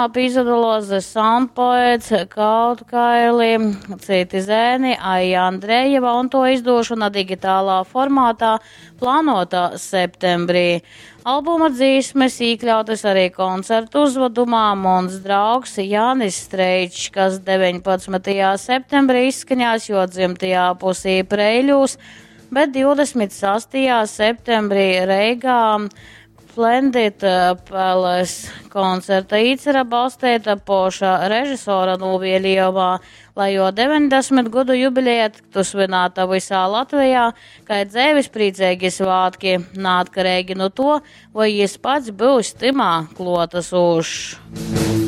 Pīsadoluos The Sound Poets, Kautkaili, Citi zēni, Aija Andrejeva un tuo izdūšona digitalā formātā plānuota septembrī. Albuma dzīsmes īkļautys ari koncertuzvadumā Muns draugs Jānis Streičs, kas 19. septembrī izskaņās juo dzymtajā pusī Preiļūs, bet 26. septembrī Reigā Splendid Palace. Koncerta īcere balsteita poša režisora nūvieliejumā, lai juo 90 godu jubileja tyktu svynāta vysā Latvejā kai dzeivisprīceigi svātki, naatkareigi nu tuo, voi jis pats byus tymā kluotasūšs.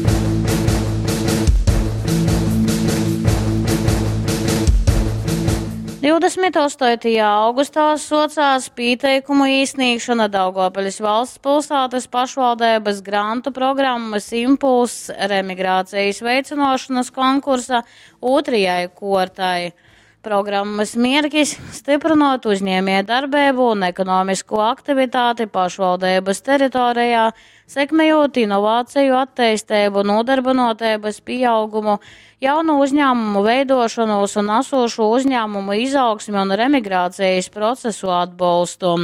28. augustā suocās pīteikumu īsnīgšona Daugovpiļs valsts pilsātys pašvaldeibys grantu programmys Impulss remigrācijas veicynuošonys konkursa ūtrajai kuortai. Programmys mierkis – styprynuot uzņiemejdarbeibu un ekonomiskū aktivitāti pašvaldeibys teritorejā, sekmejūt inovaceju atteisteibu, nūdarbynuoteibys pīaugumu, jaunu uzņāmumu veiduošonūs un asūšū uzņāmumu izaugsmi un remigrācejis procesu atbolstu.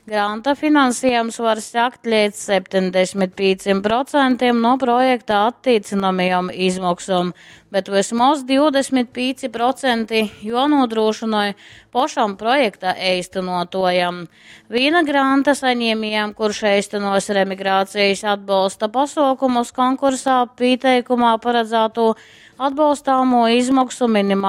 Granta finansiejums var sekt leidz 75% nu projekta attīcynamajom izmoksom, bet vysmoz 25% juonūdrūšynoj pošam projekta eistynuotuojam. Vīna granta saņiemiejam, kurš eistynuos remigrācejis atbolsta pasuokumus konkursā pīteikumā paradzātū atbolstāmū izmoksu minimāluo.